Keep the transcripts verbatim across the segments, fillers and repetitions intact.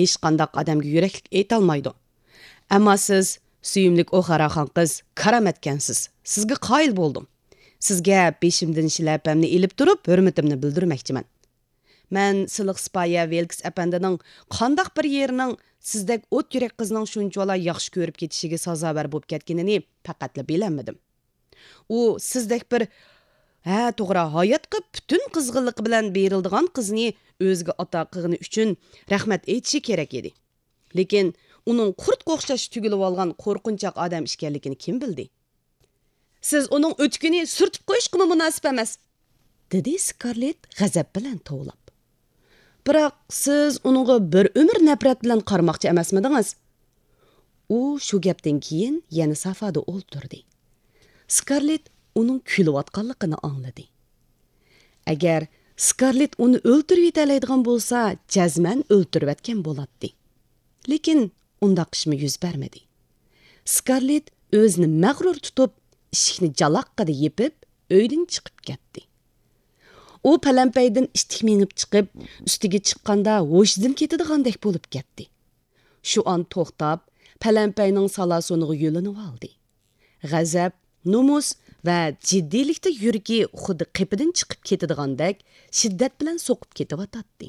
ھېچقانداق ئادەمگە يۈرەكلىك ئېيتالمايدۇ. ئەمما سىز، سۆيۈملۈك ئوخاراخان قىز، كارامەتكەنسىز. سىزگە قايىل بولدۇم. سىزگە بېشىمدىن شىلەپەمنى ئېلىپ تۇرۇپ، ھۆرمىتىمنى بىلدۈرمەكچىمەن. مەن سىلىق سىپايە ۋىلكس ئەپەندىنىڭ قانداق بىر يېرىنىڭ سىزدەك ئوت يۈرەك قىزنىڭ شۇنچىۋالا ياخشى كۆرۈپ كېتىشىگە سازاۋەر بولۇپ كەتكىنىنى پەقەتلا بىلەلمىدىم. ئۇ سىزدەك بىر، ھە، توغرا، ھاياتقا پۈتۈن قىزغىنلىقى بىلەن بېرىلىدىغان قىزنى ئۆزىگە ئاتا قىلغىنى ئۈچۈن رەھمەت ئېيتىشى كېرەك ئىدى. لېكىن ئۇنىڭ قۇرتقا ئوخشاش تۈگۈلۈۋالغان قورقۇنچاق ئادەم ئىكەنلىكىنى كىم بىلدى؟ سىز ئۇنىڭ ئۆتۈكىنى سۈرتۈپ قويۇشقىمۇ مۇناسىپ ئەمەس، دېدى سكارلېت غەزەپ بىلەن توۋلاپ. بىراق سىز ئۇنىڭغا بىر ئۆمۈر نەپرەت بىلەن قارىماقچى ئەمەسمىدىڭىز؟ ئۇ شۇ گەپتىن كېيىن يەنە سافادا ئولتۇردى. سكارلېت ئۇنىڭ كۈلۈۋاتقانلىقىنى ئاڭلىدى. ئەگەر سكارلېت ئۇنى ئۆلتۈرۈۋېتەلەيدىغان بولسا، جەزمەن ئۆلتۈرۈۋەتكەن بولاتتى. لېكىن ئۇنداق ئىشمۇ يۈز بەرمىدى. سكارلېت ئۆزىنى مەغرۇر تۇتۇپ، ئىشىكنى جالاققىدە يېپىپ، ئۆيدىن چىقىپ كەتتى. ئۇ پەلەمپەيدىن ئىتتىك مېڭىپ چىقىپ، ئۈستىگە چىققاندا ھوشىدىن كېتىدىغاندەك بولۇپ كەتتى. شۇ ئان توختاپ، پەلەمپەينىڭ سالاسۇنىغا يۆلىنىۋالدى. غەزەپ، نومۇس ۋە جىددىيلىكتە يۈرىكى خۇددى قېپىدىن چىقىپ كېتىدىغاندەك شىددەت بىلەن سوقۇپ كېتىۋاتاتتى.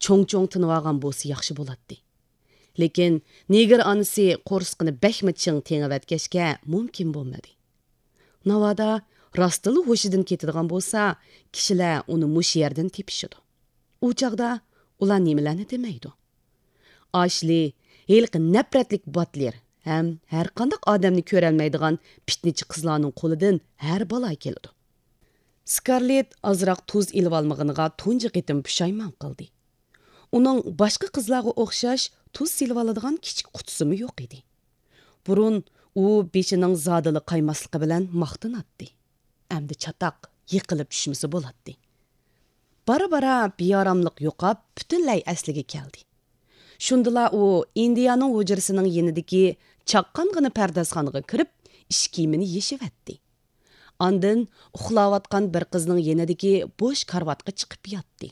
چوڭ-چوڭ تىنىۋالغان بولسا ياخشى بولاتتى. لېكىن نېگىر ئانىسى قورسىقىنى بەكمۇ چىڭ تېڭىۋەتكەچكە مۇمكىن بولمىدى. ناۋادا راستتىنلا ھوشىدىن كېتىدىغان بولسا، كىشىلەر ئۇنى مۇشۇ يەردىن تېپىشىدۇ. ئۇ چاغدا ئۇلار نېمىلەرنى دېمەيدۇ؟ ئاشلى، ھېلىقى نەپرەتلىك باتلېر ھەم ھەرقانداق ئادەمنى كۆرەلمەيدىغان پىتنىچى قىزلارنىڭ قولىدىن ھەر بالا كېلىدۇ. سكارلېت ئازراق تۇز ئېلىۋالمىغىنىغا تۇنجى قېتىم پۇشايمان قىلدى. ئۇنىڭ باشقا قىزلارغا ئوخشاش تۇز سېلىۋالىدىغان كىچىك قۇتىسىمۇ يوق ئىدى. بۇرۇن ئۇ بېشىنىڭ زادىلا قايماسلىقى بىلەن ماختىناتتى. ئەمدى چاتاق، يىقىلىپ چۈشمىسە بولاتتى. بارا-بارا بىئاراملىق يوقاپ، پۈتۈنلەي ئەسلىگە كەلدى. شۇندىلا ئۇ ئىندىيانىڭ ھۇجرىسىنىڭ يېنىدىكى چاققانغىنا پەردازخانىغا كىرىپ، ئىش كىيىمىنى يېشىۋەتتى. ئاندىن ئۇخلاۋاتقان بىر قىزنىڭ يېنىدىكى بوش كارىۋاتقا چىقىپ ياتتى.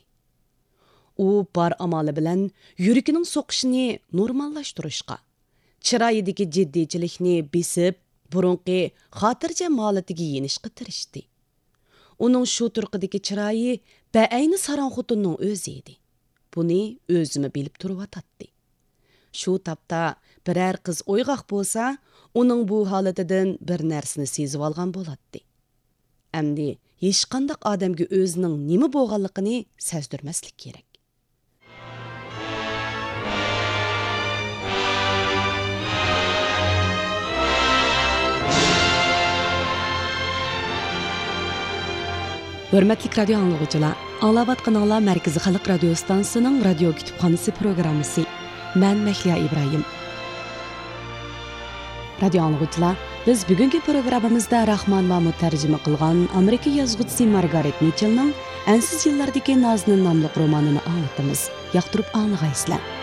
ئۇ بار ئامالى بىلەن يۈرىكىنىڭ سوقۇشىنى نورماللاشتۇرۇشقا، چىرايىدىكى جىددىيچىلىكنى بېسىپ، بۇرۇنقى خاتىرجەم ھالىتىگە يېنىشقا تىرىشتى. ئۇنىڭ شۇ تۇرقىدىكى چىرايى بەئەينى ساراڭ خوتۇننىڭ ئۆزى ئىدى. بۇنى ئۆزىمۇ بىلىپ تۇرۇۋاتاتتى. شۇ تاپتا بىرەر قىز ئويغاق بولسا، ئۇنىڭ بۇ ھالىتىدىن بىر نەرسىنى سېزىۋالغان بولاتتى. ئەمدى ھېچقانداق ئادەمگە ئۆزىنىڭ نېمە بولغانلىقىنى سەزدۈرمەسلىك كېرەك. ھۆرمەتلىك رادىيو ئاڭلىغۇچىلار، ئاڭلاۋاتقىنىڭلار مەركىزىي خەلق رادىيو ئىستانسىسىنىڭ رادىيو كۇتۇپخانىسى پروگراممىسى. مەن مەھلىيا ئىبراھىم. رادىيو ئاڭلىغۇچىلار، بىز بۈگۈنكى پروگراممىمىزدا راخمان مامۇت تەرجىمە قىلغان ئامېرىكا يازغۇچىسى مارگارېت مىچېلنىڭ ئەنسىز يىللاردىكى نازىنىن ناملىق رومانىنى ئاڭلىتىمىز. ياقتۇرۇپ ئاڭلىغايسىلەر.